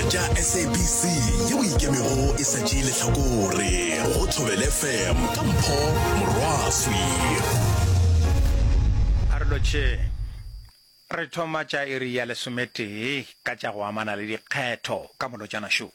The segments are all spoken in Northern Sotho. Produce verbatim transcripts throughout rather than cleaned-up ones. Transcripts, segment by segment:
Tša SABC yeo e ikemego e sa tšee lehlakore go Thobela FM ka Mpho Morwaswi. A re lotšheng. Re thoma tša iri ya lesometee ka tša go amana le dikgetho ka molotšana šo.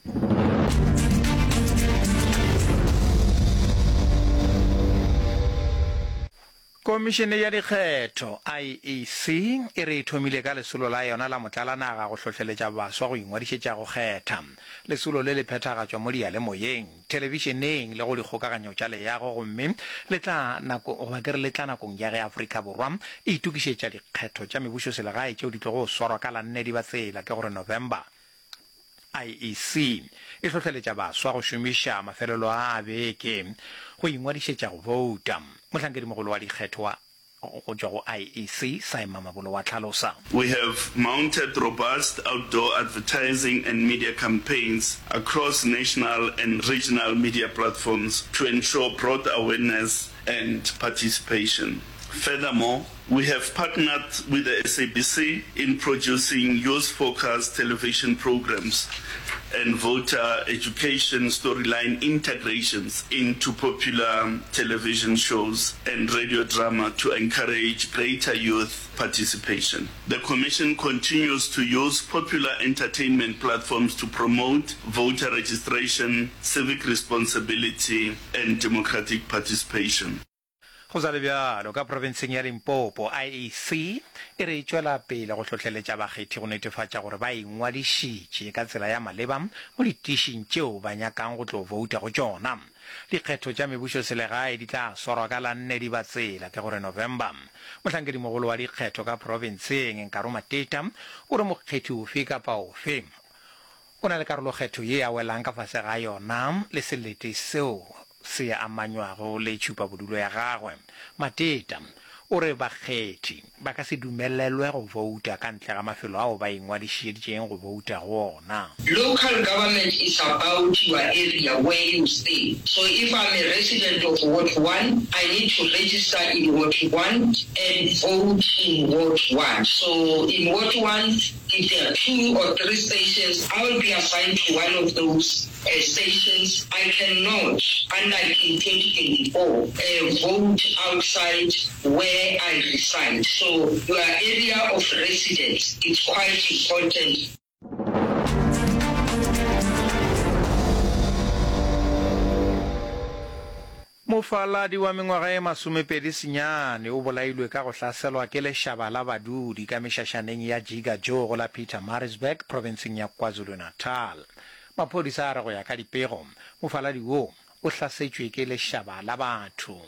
Komišene ya Dikgetho, IEC, e re e thomile ka lesolo la yona la motlalanaga go hlohleletša baswa go ingwadišetša go kgetha. Lesolo le le phethagatšwa mo diyalemoyeng, thelebišeneng le go dikgokaganyo tša leago gomme le tla nako goba ke re le tla nakong ya ge Afrika Borwa e itokišetša dikgetho tša mebušoselegae tšeo di tlogo swarwa ka la nne Dibatsela, ke gore November. IEC e hlohleletša baswa go šomiša mafelelo a a beke go ingwadišetša go bouta. Mohlankedimogolo wa dikgetho wa go tšwa go IEC, Sy Mamabolo wa hlalosa. We have mounted robust outdoor advertising and media campaigns across national and regional media platforms to ensure broad awareness and participation. Furthermore, we have partnered with the S A B C in producing youth-focused television programs and voter education storyline integrations into popular television shows and radio drama to encourage greater youth participation. The Commission continues to use popular entertainment platforms to promote voter registration, civic responsibility and democratic participation. Go sa le bjalo, ka profenseng ya Limpopo, I E C e re e tšwela pele go hlohleletša bakgethi go netefatša gore ba ingwadišitše ka tsela ya maleba mo ditišing tšeo ba nyakang go tlo bouta go tšona. Dikgetho tša mebušoselegae di tla swarwa ka la nne Dibatsela, ke gore November. Mohlankedimogolo wa dikgetho ka profenseng, Nkaro Mateta, o re mokgethi ofe kapa ofe o na le karolokgetho ye a welang ka fase ga yona le selete seo se amanywago le tšhupabodulo ya gagwe. Mateta o re bakgethi ba ka se dumelelwe go bouta ka ntle ga mafelo ao ba ingwadišeditšeng go bouta go ona. Local government is about your area where you stay. So if I'm a resident of Ward one, I need to register in Ward one and vote in Ward one. So in Ward one, if there are two or three stations, I will be assigned to one of those uh, stations. I cannot, unlike in twenty twenty-four, uh, vote outside where I reside. So your area of residence is quite important. Mofaladi wa mengwaga e masomepedi senyane o bolailwe ka go hlaselwa ke lešaba la badudi ka mešašaneng ya Jiga Joe go la Pietermaritzburg profenseng ya KwaZulu-Natal. Maphodisa a re go ya ka dipego, mofaladi wo o hlasetšwe ke lešaba la batho.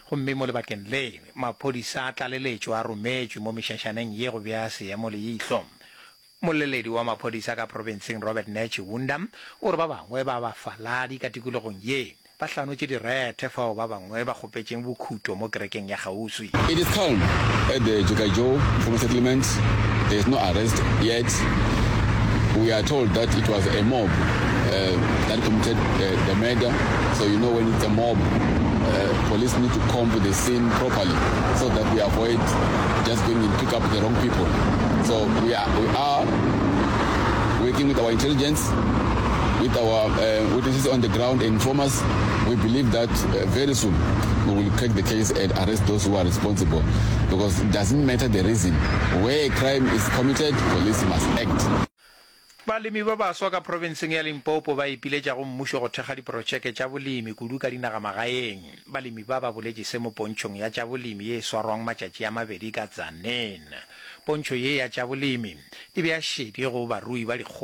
Gomme mo lebakeng le, maphodisa a tlaleletšo a rometšwe mo mešašaneng ye go bea seemo leihlo. Moleledi wa maphodisa ka profenseng Robert Netshiunda o re ba bangwe ba bafaladi ka tikologong ye ba hlanotše direthe fao ba bangwe ba kgopetšeng bokhuto mo kerekeng ya kgauswi. It is calm at the Jikajo informal settlement. There is no arrest yet. We are told that it was a mob uh, that committed uh, the murder. So you know when it's a mob, uh, police need to comb the scene properly so that we avoid just going and pick up the wrong people. So we are, we are working with our intelligence, with our uh, witnesses on the ground and informers. We believe that uh, very soon we will crack the case and arrest those who are responsible, because it doesn't matter the reason. Where a crime is committed, police must act. Balemi ba baswa ka profenseng ya Limpopo ba ipiletša go mmušo go thekga diprotšeke tša bolemi kudu ka dinagamagaeng. Balemi ba ba boletše se mo pontšhong ya tša bolemi ye e swarwang matšatši a mabedi ka Tzaneen. Pontšho ye ya tša bolemi e bea šedi go barui ba dikgomo.